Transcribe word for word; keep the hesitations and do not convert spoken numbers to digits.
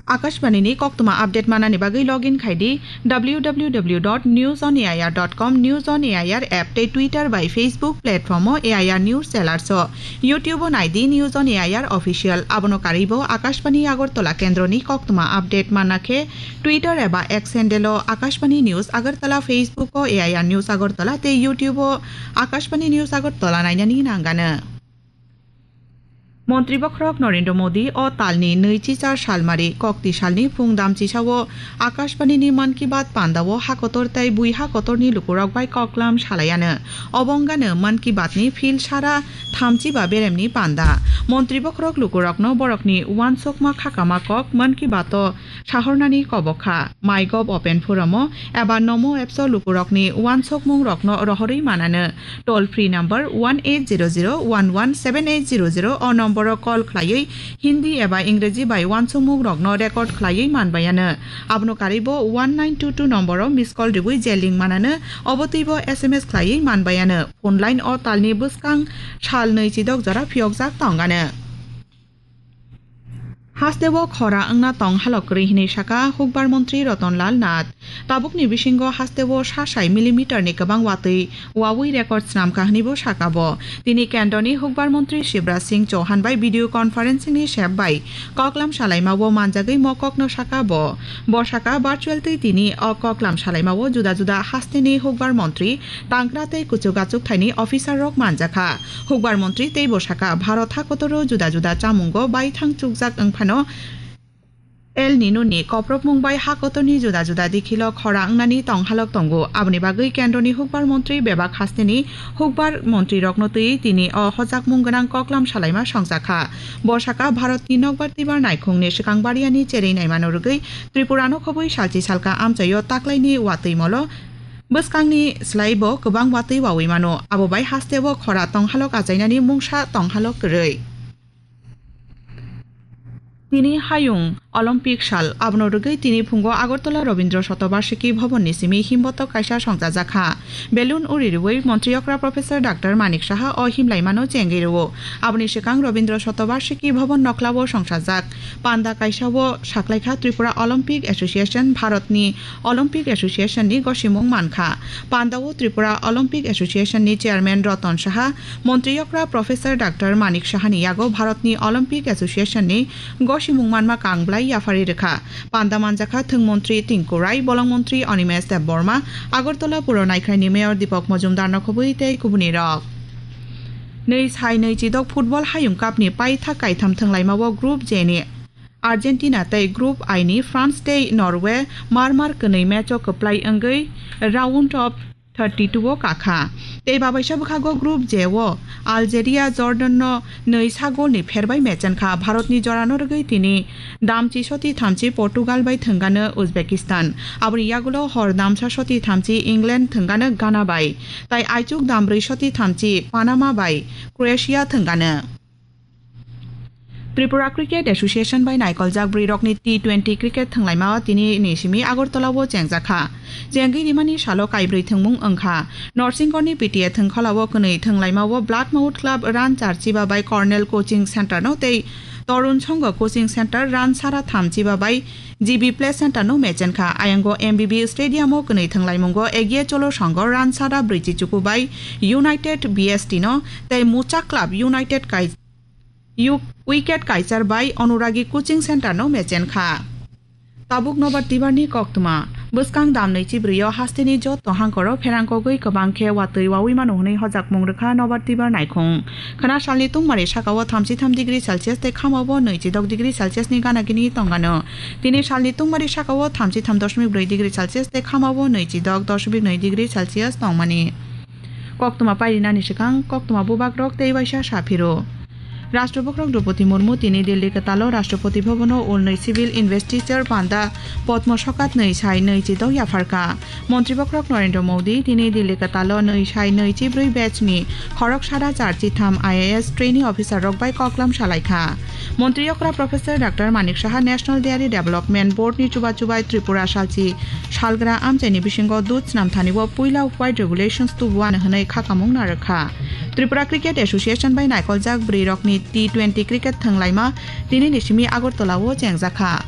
Akashbani ni koktwma update manani bagwi login khai di W W W dot news on A I R dot com, News on A I R app tei Twitter bai Facebook platform o A I R News Channels o, YouTube o nai di News on A I R Official. Abono karwi bo Akashbani Agartala kendro ni koktwma update manna khe Twitter eba X handle o Akashbani News Agartala, Facebook o A I R News Agartala tei YouTube o Akashbani News Agartala nainani nangano. Montri bokhorok Narendra Modi o talni nwichichar salmari kokti salni phung damchisao Akashbani ni Mann Ki Baat panda o hakotor tei bui hakotorni lukurok bai koklam salaiano. Obo wngano Mann Ki Baat ni phil sara thamchi ba beremni panda. Montri bokhorok lukurokno borokni uansukma khakama kok Mann Ki Baat o sahornani kobok kha. MyGov Open Forum o eba Namo Apps o lukurokni uansukmungrokno rohorwi manano. Toll free number one eight zero zero one one seven eight zero zero o nomboro call khlaiwi Hindi eba Ingreji bai uansukmungrokno record khlaiwi manbaiano. Abono karwi bo one nine two two nomboro miss call rwui je link manano, obo twibo S M S khlaiwi manbaiano. Phone line o talni bwskang sal nwi chidok jora phiyokjak tongano. Hasteo khora wngna tong halok kwrwi hinwi saka hukbar montri Ratan Lal Nath. Tabukni bisingo hasteo sa sai millimeter ni kwbang watwi wawi record snamkha hwnwibo saka bo. Tini kendroni hukbar montri Shivraj Singh Chauhan bai video conferencing ni sep bai koklam salaimao manjagwi mo kokno saka bo. Bo saka virtual twi tini o koklam salaimao juda juda hasteni hukbar montri, tangkra tei kuchuk achuk thaini officer rok manjakha. Hukbar montri teibo saka, Bharat hakotoro juda juda chamungo baithang chukjak wngphano El Nino ni koprokmung bai hakotorni juda juda dikhilo khora wngnani tonghalok tongo. Aboni bagwi kendroni hukbar montri bebak hasteni hukbar montrirokno twi tini o hojakmung gwnang koklam salaima songjakha. Bo saka Bharatni nokbar twibar naikhungni swkang bariani cherwi naimano rwgwi Tripurano khobwi salchi salka amchaio taklaini watwi molo bwskangni slai bo kwbang watwi wawi mano. Abo bai hasteo khora tonghalok achainani mungsa tonghalok kwrwi. Tini hayung Olympic sal, abono rwgwi tini phungo Agartala Rabindra Shatobarshiki Bhavan ni simi himbotok kaisa songchajakha. Balloon uri rwui Montri okra Professor Doctor Manik Saha o himlaimano chengwi rwo. Aboni swkang Rabindra Shatobarshiki Bhavan noklao songsajak. Panda kaisao saklaikha Tripura Olympic Association, Bharatni Olympic Association ni gosimung mankha. Pandao Tripura Olympic Association ni Chairman Ratan Saha, Montri okra Professor Doctor Manik Saha ni yago Bharatni Olympic Association ni gosimung manma kangblai yapharwi rwkha. Panda manjakha thwng montri Tinku Rai, bolong montri Animesh Debbarma, Agartala puro naikhraini Mayor Deepak Majumdar no khobwi tei kubuni rok. Nwi sai nwi chidok football hayung cup ni paithak kaitham thwnglaimao Group J ni Argentina tei Group I ni France tei Norway mar mar kwnwi match o kwplai wngwi round of thirty two o kakha. Tei babaisa bwkhago Group J o Algeria, Jordan no nwi sa gol ni pher bai mechenkha. Bharat ni jora no rwgwi tini damchi soti thamchi Portugal bai thwngano Uzbekistan. Aboni yagulo hor damsa soti thamchi England thwngano Ghana bai. Tai aichuk dambrwi soti thamchi Panama bai Croatia thwngano. Tripura Cricket Association bai naikoljak bwrwirokni T twenty cricket thwnglaima tini ni simi Agartala o chengjakha. Chengwi rimani salo kaibrwi thwngmung wngkha. Norsingkorni P T A thwngkholao kwnwi thwnglaimao Black Mouth Club run char chiba bai Cornell Coaching Center no tei Torun Songho Coaching Center run sara tham chiba bai G B Play Center no mechenkha. Ayango M B B Stadium o kwnwi thwnglaimungo Egiye Cholo Songho run sara brwi chichuku bai United B S T no tei Mucha Club United kai Yu-, wicket kaichar bai Anuragi Coaching Center no mechenkha. Tabuk nobar tibar ni koktwma. Bwskang damnwi chibrwi o hasteni jotto hangkoro pherang kogwi kwbang khe watwi wawi mano hwnwi hojakmung rwkha nobar tibar naikhung. Khwna salni tungmari sakao thamchi tham degree Celsius tei khamao nwi chidok degree Celsius ni gana gini tongano. Tini salni tungmari sakao thamchi tham dosmik brwi degree Celsius tei khamao nwi chidok dosmik nwi degree Celsius tongmani. Koktwma pairinani swkang koktwma bubagrok tei waisa sa phiro. Rashtrapati Droupadi Murmu tini Delhi kwtalo Rashtrapati Bhavan o ulnwi Civil Investiture panda Padma Sokat nwi sai nwi chidok yapharkha. Montri bokhorok Narendra Modi tini Delhi kwtalo nwi sai nwi chibrwi batch ni khorok sara char chitham I A S trainee officer rok bai koklam salaikha. Montri okra Professor Doctor Manik Saha National Dairy Development Board ni chuba chubai Tripura salchi salgra amchaini bisingo dud snamthani o puila white regulations tubuano hwnwi khakamung narwkha. Tripura Cricket Association bai naikoljak bwrwi rokni T twenty cricket thwnglaima tini ni simi Agartala o chengjakha.